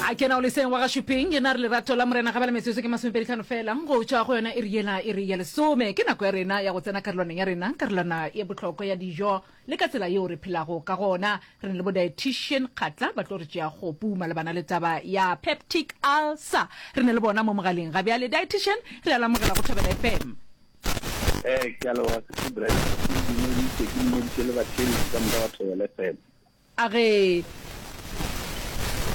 A ke na o leseng wa ga Šuping, yena a re lerato la Morena ga bjale metsotso ke masomepeditlhano fela go tšwa go yona iri yela iri ya lesome. Ke nako ya rena ya go tsena karolwaneng ya rena, karolwana ye bohlokwa ya dijo le ka tsela yeo re phelago ka gona. Re na le bo dietitian Kgatla ba tlo re tšea kgopu malebana le taba ya peptic ulcer. Re na le bona mo mogaleng ga bjale. Dietitian, re a le amogela go Thobela FM. Ee, ke a leboga Sisi Bright. Ke dumeditše, ke dumeditše le batheeletši ka moka ba Thobela FM. A re,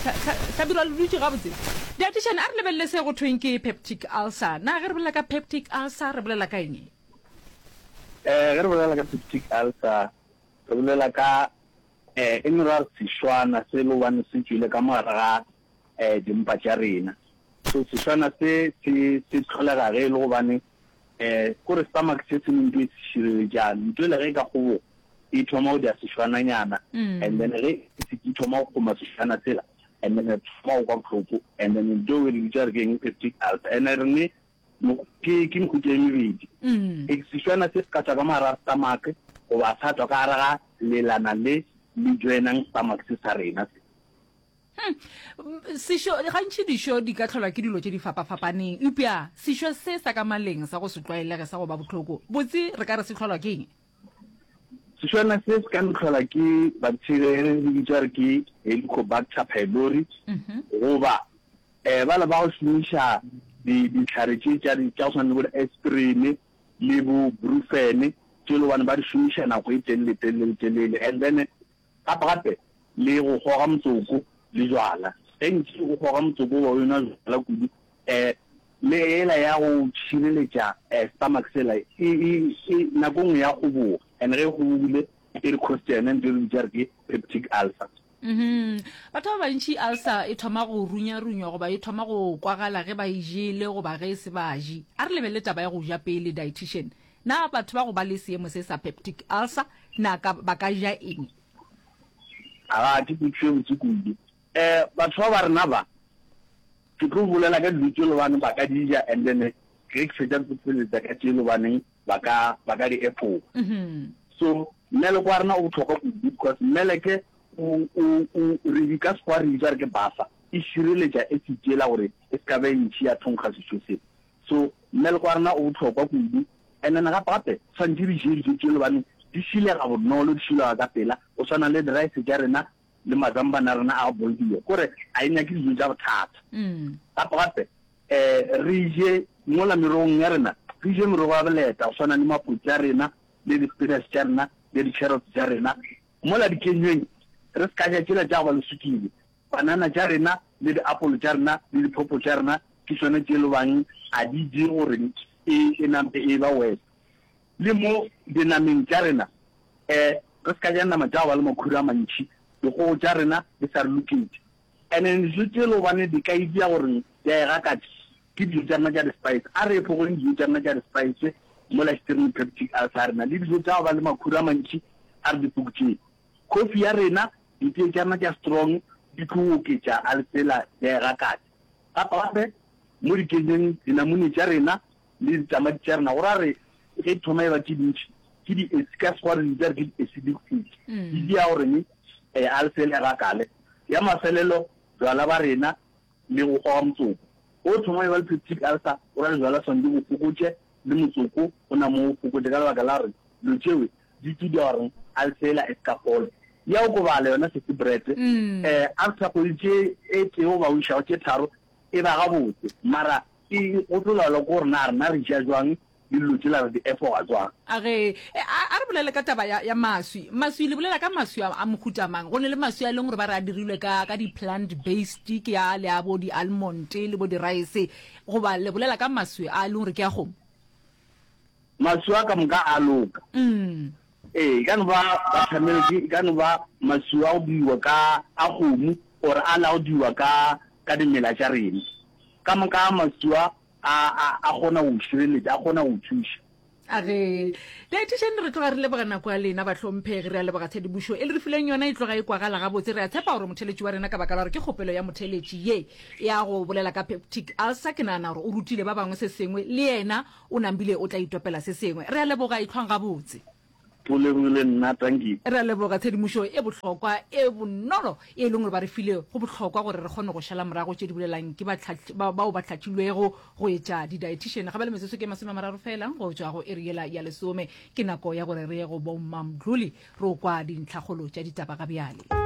Hlabirwa le dutše gabotse. Dietitian, a re lebelele se go thweng ke peptic ulcer. Na ge re bolela ka peptic ulcer re bolela ka eng? Eh, ge re bolela ka peptic ulcer, re bolela ka eh, e no ra re sešwana se e le gobane se tšwele ka mo gare ga eh, dimpa tša rena. So sešwana se se se hlolega ge e le gobane Eh, kore stomach se se ne nto e se šireletšang. Nto ele ge e ka kgoboga, e thoma go dia sešwananyana, and then ge e se e thoma go kgoma sešwana sela, and then re thoma go kwa bohloko, and then nto eo re bitša re ke eng, peptic ulcer. And re ne ke ke mehuta e mebedi. E sešwana se se ka tšwa ka mo gare ga stomach, goba sa tšwa ka gare ga lelana le le joinang stomach se sa rena se. Hmm. Sešo, gantši dišo di ka hlolwa ke dilo tše di fapafapaneng, eupša sešo se sa ka maleng sa go se tlwaelege sa go ba bohloko, botse re ka re se hlolwa ke eng? Sešwana se se ka no hlolwa ke bacteria e re bitša re ke Helicobacter pylori goba um bale ba go šomiša dihlare tše tša tša go swana le bo di-aspirin le bo brufen tše e le gobane ba di šomiša nako e telele telele telele and then Gape gape le go kgoga motsoko le jwala. Ge ntši o kgoga motsoko goba o enwa jwala kudu, eh, le yela ya go šireletša eh, stomach sela e, e, e nako nngwe ya kgoboga. And ge e kgobogile e re cause yona ntho e re bitša re ke peptic ulcer. Mhm. Batho ba bantši ulcer e thoma go runyarunywa goba e thoma go kwagala ge ba e jele goba ge e se ba je. A re lebelele taba ya go ja pele, dietitian. Na batho ba go ba le seemo se sa peptic ulcer na ka ba ka ja eng? Aga, ke potšišo e botse kudu. Um batho ba ba rena ba, ke tlo bolela ka dilo tše lobaneng ba ka di ja and then ge ke fetša ke tlo feleletša ka tše lobaneng ba ka ba ka di efoga. So mmeleko wa rena o bohlokwa kudu because mmeleke o o o re ka Sekgowa re bitša re ke buffer, e šireletša acid yela gore e se ka ba e ntši ya thonkga sešo se. So mmeleko wa rena o bohlokwa kudu and then gape gape tshwanetse re je dijo tše lobane di šilega bonolo, di šilega ka pela, go swana le di-rice tša rena le mazambane a rena a go boiliwa, kore a e nyake dijo tša bothata. Gape gape um re je mola merogong ya rena, re je merogo ya boleta go swana le mapotse a rena le di-spinach tša rena le di-carrots tša rena. Mola dikenyweng re se ka ja tšela tša go ba le sukiri, Panana tša rena le diapolo tša rena le diphopo tša rena ke tšona tše lobang a di dire gore e, e nampe e ba worse. Le mo dinameng tša rena, eh, re se ka ja nama tša go ba le makhura a mantši, dikgogo tša rena di sa re loketše. And then dijo tše lobane di ka e dia gore di a e gakatša ke dijo tša rena tša di-spice. A re efogeng dijo tša rena tša di-spice mola štireng peptic ulcer ya rena le dijo tša go ba le makhura a mantši a re di fokotšeng. Kofi ya rena, ditee tša rena tša strong di tlo oketša a letsela ya e gakatša. Gape gape mo dikenyeng dinamune tša rena le ditamati tša rena go ra re ge di thoma e ba tše dintši ke di ka Sekgowa re di bitša re ke di acidic food di dia gore a letsela e gakale. Ya mafelelo jwala ba rena le go goga motsoko. Ge o thoma e ba le peptic ulcer go ra le jwala swanetše bo fokotše le motsoko o na mo o fokotše ka lebaka la gore dilo tšeo di tšo dira gore ulcer yela e se ka fola. Ya okobala yona sesi bread eh after kgwedi tše e tee goba o išago tše tharo e ba gabotse mara e go tlo laolwa ke gore na rena re ja jwang le dilo tšela re di efoga jwang. A re, a re bolele ka taba ya, ya maswi. Maswi, le bolela ka maswi a, a mohuta mang? Go ne le maswi a e leng gore ba re a dirilwe ka, ka di-plant based, ke a le a bo di-almond le bo di-rice, goba le bolela ka maswi a e leng gore ke a kgomo? Maswi a ka moka a loka. Ee, e ka no ba buttermilk, e ka no ba maswi a go diwa ka a kgomo or a la go diwa ka, ka dimela tša rena. Ka moka a maswi a A, a, a kgona go šireletša, a kgona go thuša. A re, Dietitian, re tloga re leboga nako ya lena, bahlomphegi. Re a leboga tshedimošo e le re fileng yona, e tloga e kwagala gabotse. Re a tshepa gore motheeletši wa rena, ka baka la gore ke kgopelo ya motheeletši ye ya go bolela ka peptic ulcer, ke nagana gore o rutile ba bangwe se sengwe, le yena o nambile o tla itopela se sengwe. Re a leboga, ehlwang gabotse. Go lebogile nna, tanki. Re a leboga tshedimošo e bohlokwa e bonolo e leng gore ba re file. Go bohlokwa gore re kgone go šala morago tše di bolelang ke ba bao ba hlahlilwego go etša di-dietitian. Ga bjale metsotso ke 30 feela go tšwa go iri yela ya lesome. Ke nako ya gore re ye go bo Mmamdluli re o kwa dintlhakgolo tša ditaba ga bjale.